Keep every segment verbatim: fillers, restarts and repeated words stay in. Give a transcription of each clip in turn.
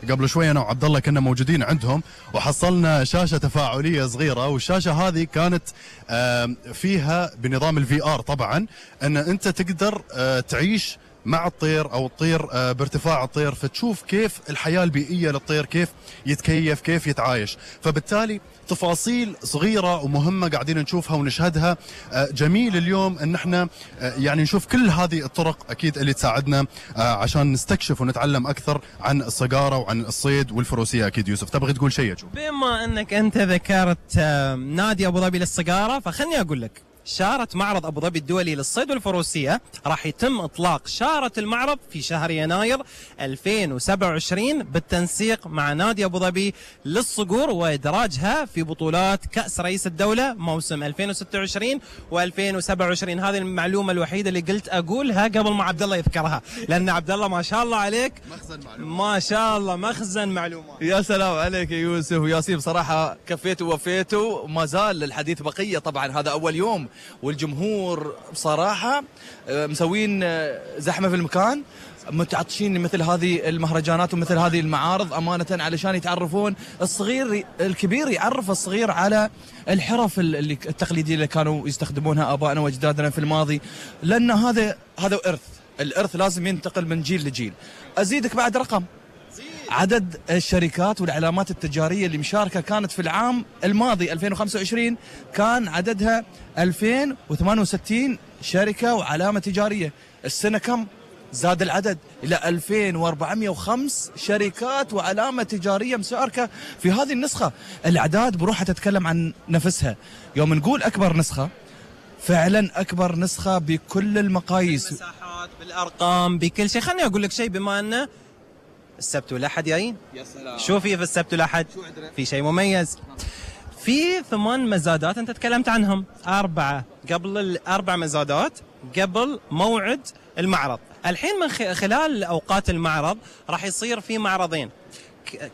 قبل شوي انا وعبد الله كنا موجودين عندهم وحصلنا شاشه تفاعليه صغيره، والشاشه هذه كانت فيها بنظام الفي ار طبعا ان انت تقدر تعيش مع الطير او الطير بارتفاع الطير، فتشوف كيف الحياه البيئيه للطير، كيف يتكيف، كيف يتعايش. فبالتالي تفاصيل صغيره ومهمه قاعدين نشوفها ونشهدها. جميل اليوم ان احنا يعني نشوف كل هذه الطرق اكيد اللي تساعدنا عشان نستكشف ونتعلم اكثر عن الصقاره وعن الصيد والفروسيه. اكيد يوسف تبغي تقول شيء؟ بما انك انت ذكرت نادي ابو ظبي للصقاره، فخلني اقول لك شارة معرض أبو ظبي الدولي للصيد والفروسية راح يتم إطلاق شارة المعرض في شهر يناير ألفين وسبعة وعشرين بالتنسيق مع نادي أبو ظبي للصقور وإدراجها في بطولات كأس رئيس الدولة موسم ألفين وستة وعشرين وألفين وسبعة وعشرين. هذه المعلومة الوحيدة اللي قلت أقولها قبل ما عبد الله يذكرها، لأن عبد الله ما شاء الله عليك مخزن معلومات، ما شاء الله مخزن معلومات. يا سلام عليك يا يوسف وياسين، بصراحة كفيتوا ووفيتوا، وما زال الحديث بقية. طبعا هذا أول يوم والجمهور بصراحة مسوين زحمة في المكان، متعطشين مثل هذه المهرجانات ومثل هذه المعارض أمانة علشان يتعرفون الصغير الكبير، يعرف الصغير على الحرف اللي التقليدية اللي كانوا يستخدمونها آبائنا وأجدادنا في الماضي، لأن هذا هذا إرث، الإرث لازم ينتقل من جيل لجيل. أزيدك بعد رقم، عدد الشركات والعلامات التجارية اللي مشاركة كانت في العام الماضي ألفين وخمسة وعشرين كان عددها ألفين وثمانية وستين شركة وعلامة تجارية. السنة كم؟ زاد العدد إلى ألفين وأربعمئة وخمسة شركات وعلامة تجارية مشاركة في هذه النسخة. الأعداد بروحها تتكلم عن نفسها. يوم نقول أكبر نسخة، فعلا أكبر نسخة بكل المقاييس، بالمساحات بالأرقام بكل شيء. خلني أقول لك شيء، بما أنه السبت والأحد جايين، يا سلام شو في في السبت والأحد؟ في شيء مميز، في ثمان مزادات أنت تكلمت عنهم، أربعة قبل الأربع مزادات قبل موعد المعرض. الحين من خلال أوقات المعرض راح يصير في معرضين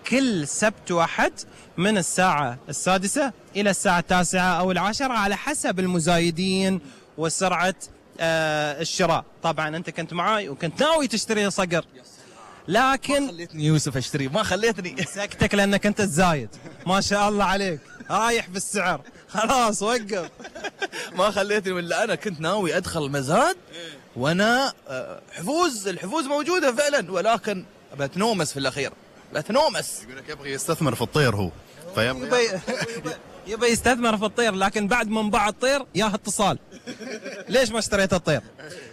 كل سبت وأحد من الساعة السادسة إلى الساعة التاسعة أو العاشرة على حسب المزايدين وسرعة آه الشراء. طبعا أنت كنت معاي وكنت ناوي تشتري صقر، لكن ما خليتني يوسف اشتري، ما خليتني. سكتك لانك انت الزايد، ما شاء الله عليك رايح بالسعر، خلاص وقف. ما خليتني، ولا انا كنت ناوي ادخل مزاد وانا حفوز، الحفوز موجوده فعلا، ولكن بتنومس في الاخير، بتنومس. يقول لك يبغى يستثمر في الطير هو، فيبغى يبغى يستثمر في الطير، لكن بعد ما انباع الطير ياه اتصال، ليش ما اشتريت الطير؟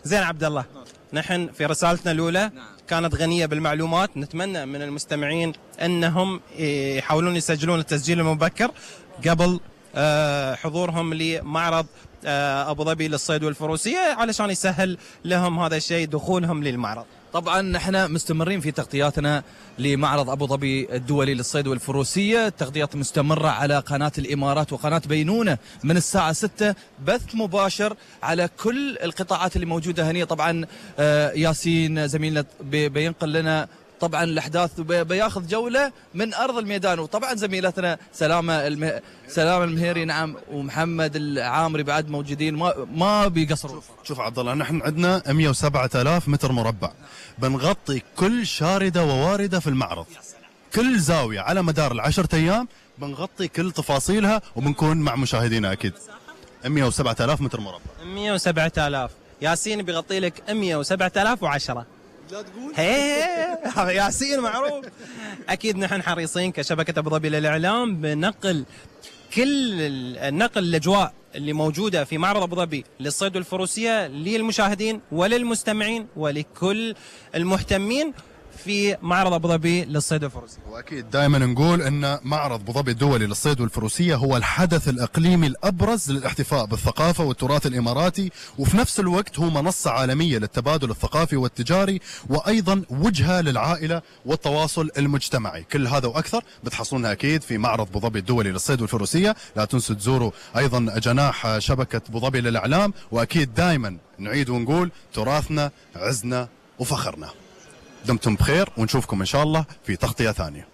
زين عبد الله، نحن في رسالتنا الاولى كانت غنية بالمعلومات، نتمنى من المستمعين أنهم يحاولون يسجلون التسجيل المبكر قبل حضورهم لمعرض أبو ظبي للصيد والفروسية علشان يسهل لهم هذا الشيء دخولهم للمعرض. طبعا نحن مستمرين في تغطياتنا لمعرض أبو ظبي الدولي للصيد والفروسية، تغطيات مستمرة على قناة الإمارات وقناة بينونة من الساعة ستة، بث مباشر على كل القطاعات اللي موجودة هنا. طبعا ياسين زميلنا بينقل لنا طبعا الأحداث، بياخذ جولة من أرض الميدان، وطبعا زميلتنا سلامة المه... سلامة المهيري نعم ومحمد العامري بعد موجودين، ما ما بيقصروا. شوف, شوف عبد الله، نحن عندنا مئة وسبعة آلاف متر مربع، بنغطي كل شاردة وواردة في المعرض، كل زاوية على مدار العشرة أيام بنغطي كل تفاصيلها، وبنكون مع مشاهدينا أكيد. مئة وسبعة آلاف متر مربع، مئة وسبعة آلاف. ياسين بيغطي لك مئة وسبعة آلاف وعشرة. لا تقول هي ياسين معروف. اكيد نحن حريصين كشبكه ابو ظبي للاعلام بنقل كل النقل الاجواء اللي موجوده في معرض ابو ظبي للصيد والفروسيه للمشاهدين وللمستمعين ولكل المهتمين في معرض ابو ظبي للصيد والفروسيه. واكيد دائما نقول ان معرض ابو ظبي الدولي للصيد والفروسيه هو الحدث الاقليمي الابرز للاحتفاء بالثقافه والتراث الاماراتي، وفي نفس الوقت هو منصه عالميه للتبادل الثقافي والتجاري، وايضا وجهه للعائله والتواصل المجتمعي. كل هذا واكثر بتحصلونها اكيد في معرض ابو ظبي الدولي للصيد والفروسيه. لا تنسوا تزوروا ايضا جناح شبكه ابو ظبي للاعلام، واكيد دائما نعيد ونقول تراثنا عزنا وفخرنا. دمتم بخير ونشوفكم إن شاء الله في تغطية ثانية.